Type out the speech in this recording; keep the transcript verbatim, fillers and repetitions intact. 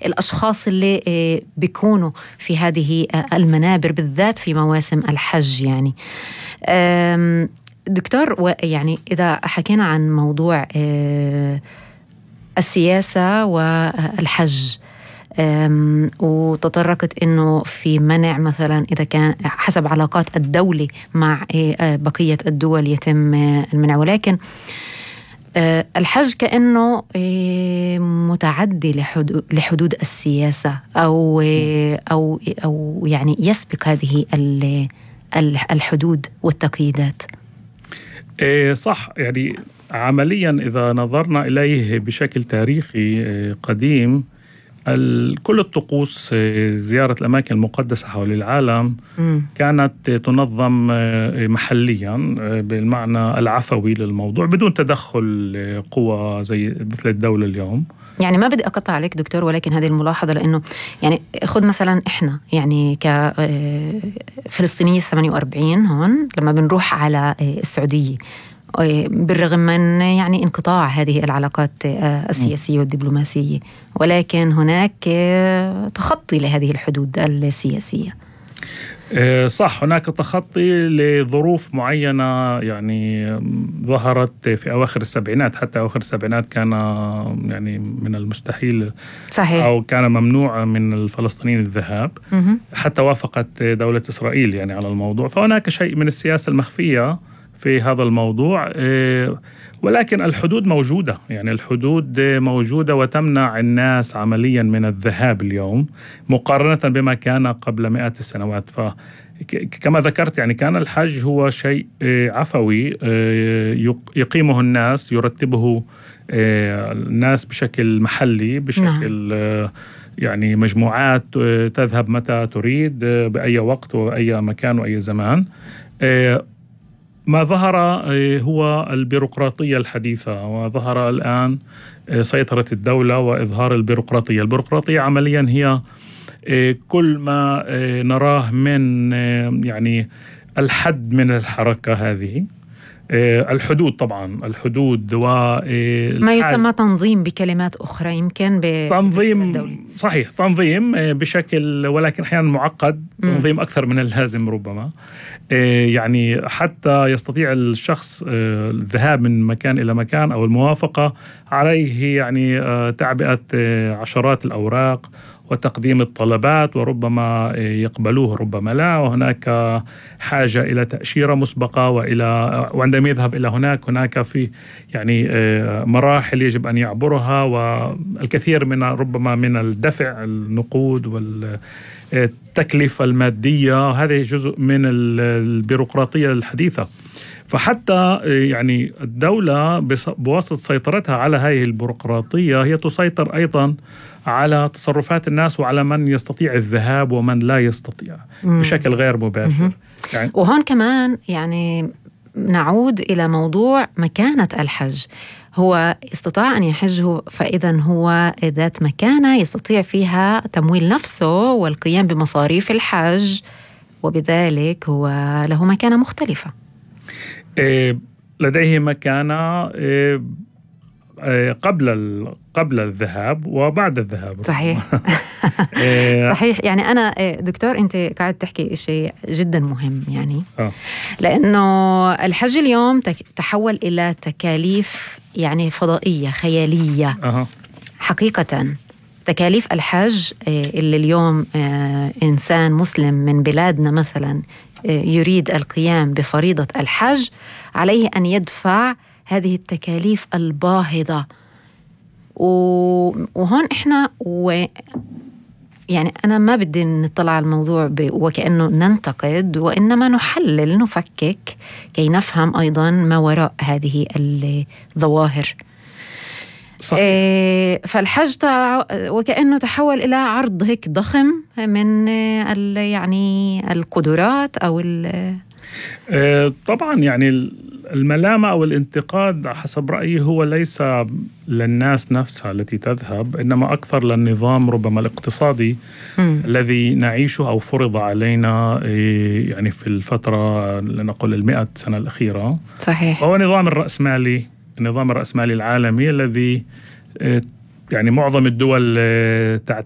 الأشخاص اللي بيكونوا في هذه المنابر بالذات في مواسم الحج. يعني دكتور، يعني إذا حكينا عن موضوع السياسة والحج، وتطرقت إنه في منع مثلا إذا كان حسب علاقات الدولة مع بقية الدول يتم المنع، ولكن الحج كأنه متعدي لحدود, لحدود السياسة أو, أو, أو يعني يسبق هذه الحدود والتقييدات. إيه صح. يعني عمليا إذا نظرنا إليه بشكل تاريخي قديم، كل الطقوس زيارة الأماكن المقدسة حول العالم م. كانت تنظم محليا بالمعنى العفوي للموضوع بدون تدخل قوى زي مثل الدولة اليوم. يعني ما بدي أقطع عليك دكتور، ولكن هذه الملاحظة، لأنه يعني خذ مثلا إحنا يعني كفلسطينية ثمانية وأربعين هون لما بنروح على السعودية، بالرغم من يعني انقطاع هذه العلاقات السياسية والدبلوماسية، ولكن هناك تخطي لهذه الحدود السياسية. صح، هناك تخطي لظروف معينة يعني ظهرت في أواخر السبعينات. حتى أواخر السبعينات كان يعني من المستحيل صحيح. أو كان ممنوع من الفلسطينيين الذهاب، حتى وافقت دولة إسرائيل يعني على الموضوع. فهناك شيء من السياسة المخفية في هذا الموضوع، ولكن الحدود موجودة. يعني الحدود موجودة وتمنع الناس عمليا من الذهاب اليوم مقارنة بما كان قبل مئات السنوات. فكما ذكرت يعني كان الحج هو شيء عفوي يقيمه الناس، يرتبه الناس بشكل محلي، بشكل نعم. يعني مجموعات تذهب متى تريد بأي وقت وأي مكان وأي زمان. ما ظهر هو البيروقراطية الحديثة، وظهر الآن سيطرة الدولة وإظهار البيروقراطية. البيروقراطية عمليا هي كل ما نراه من يعني الحد من الحركة هذه. الحدود طبعا الحدود وما يسمى تنظيم بكلمات أخرى، يمكن تنظيم صحيح تنظيم بشكل ولكن أحيانا معقد، تنظيم أكثر من اللازم ربما. يعني حتى يستطيع الشخص الذهاب من مكان إلى مكان أو الموافقة عليه يعني تعبئة عشرات الأوراق وتقديم الطلبات، وربما يقبلوه ربما لا، وهناك حاجة إلى تأشيرة مسبقة، وإلى وعندما يذهب إلى هناك هناك في يعني مراحل يجب أن يعبرها، والكثير من ربما من الدفع النقود والتكلفة المادية. هذه جزء من البيروقراطية الحديثة. فحتى يعني الدولة بواسطة سيطرتها على هذه البيروقراطية هي تسيطر أيضا على تصرفات الناس وعلى من يستطيع الذهاب ومن لا يستطيع مم. بشكل غير مباشر. يعني وهون كمان يعني نعود إلى موضوع مكانة الحج. هو استطاع أن يحجه، فإذا هو ذات مكانة يستطيع فيها تمويل نفسه والقيام بمصاريف الحج، وبذلك هو له مكانة مختلفة. إيه لديه مكانة إيه قبل قبل الذهاب وبعد الذهاب. صحيح. صحيح. يعني أنا دكتور أنت قاعد تحكي شيء جدا مهم، يعني آه. لأنه الحج اليوم تحول إلى تكاليف يعني فضائية خيالية. أه. حقيقة تكاليف الحج اللي اليوم إنسان مسلم من بلادنا مثلا يريد القيام بفريضة الحج، عليه أن يدفع هذه التكاليف الباهظة. وهون إحنا و يعني أنا ما بدي نطلع على الموضوع وكأنه ننتقد، وإنما نحلل نفكك كي نفهم أيضا ما وراء هذه الظواهر. إيه فالحج تع... وكأنه تحول إلى عرض هيك ضخم من ال... يعني القدرات أو ال... آه طبعا يعني الملامة أو الانتقاد حسب رأيي هو ليس للناس نفسها التي تذهب، إنما أكثر للنظام ربما الاقتصادي م. الذي نعيشه أو فرض علينا يعني في الفترة لنقول المئة سنة الأخيرة. صحيح. هو نظام الرأسمالي، النظام الرأسمالي العالمي الذي يعني معظم الدول